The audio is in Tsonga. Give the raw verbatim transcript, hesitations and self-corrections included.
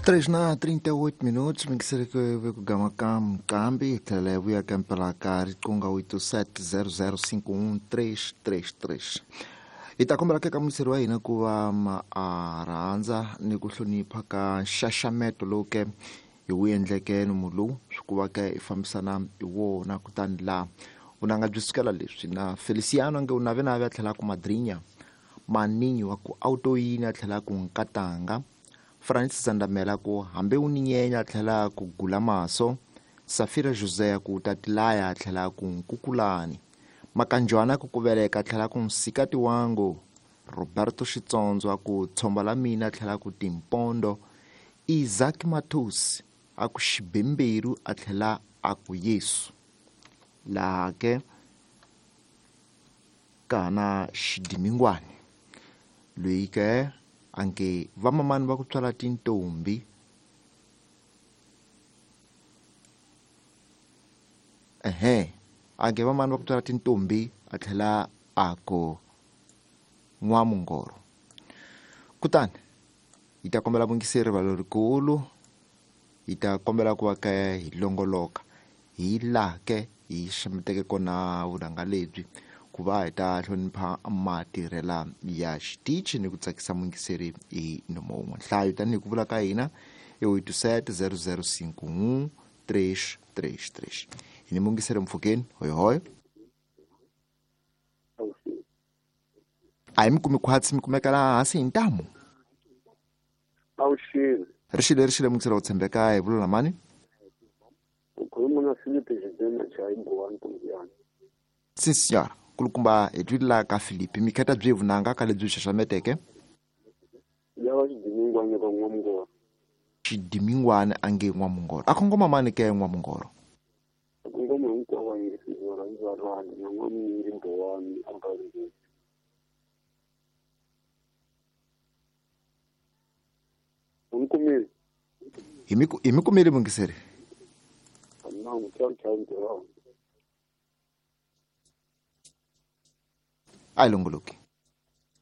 Três na trinta e oito minutos, mingiseri ku gama ka Mkambi, hi tlhela hi vuya ka mpela ka riqingho oito sete zero zero cinco um três três três. Hi ta kombela ka muyingiseri wa hina ku va a rhandza ni ku hlonipha ka nxaxameto lowu ke hi wu endleke nomu lowu swi ku va ke hi fambisana hi wona. Kutani laha vunanga byi sukela leswi na Feliciano nge u navenave a tlhela ku madrinya maninyi wa ku autoyini a tlhela ku nkatanga Francis Zandamela ku hambi u ni nyenya a tlhela ku gula maso Safira José ku tatilaya a tlhela ku nkukulani Makanjwana ku kuveleka a tlhela ku nsikati wangu Roberto Xitsondzo a ku tshomba la mina a tlhela ku timpondo Isaac Matos a ku xibemberu a tlhela a ku Yesu laha ke kana xidimingwani loyi ke anke vamamani va ku tswala tintombi ehe anke vamamani va ku tswala tintombi a tlhela a ku n'wamungoro. Kutani hi ta kombela vuyingiseri va lerikulu, hi ta kombela ku va ka hi longoloka hi laha ke hi xameteke kona vunanga lebyi ku va hi ta hlonipha matirhela ya xitichi ni ku tsakisa muyingiseri hi nomo wun'we. Nhlayo tanihi ku vula ka hina i oito sete zero zero cinco um três três três. Hi ni muyingiseri mpfhukeni hoyihoyi. A hi mi kumi khwatsi mi kumeka laha hansi hi ntamu. Awuxile. Rixile rixile muyingiseri wo tshembeka hi vula mani? U khuluma na Filipe Xidena Chayibuwani Kumbiyani. Sim senhora. Kulukumba hi twile ka Filipe mi kheta byi vunanga ka lebyi xaxameteke lava xidimingwana ka n'wamungoro. Xidimingwana a nge n'wamungoro a kongoma mani ke n'wamungoro? A kongoma hinkwavo a nge va rhandi na n'wamunyingi mbowani a nga ri. U ni kumile? Hi mi hi mi kumile muyingiseri? Nangu tchau tchau ntirho. A yi longoloki.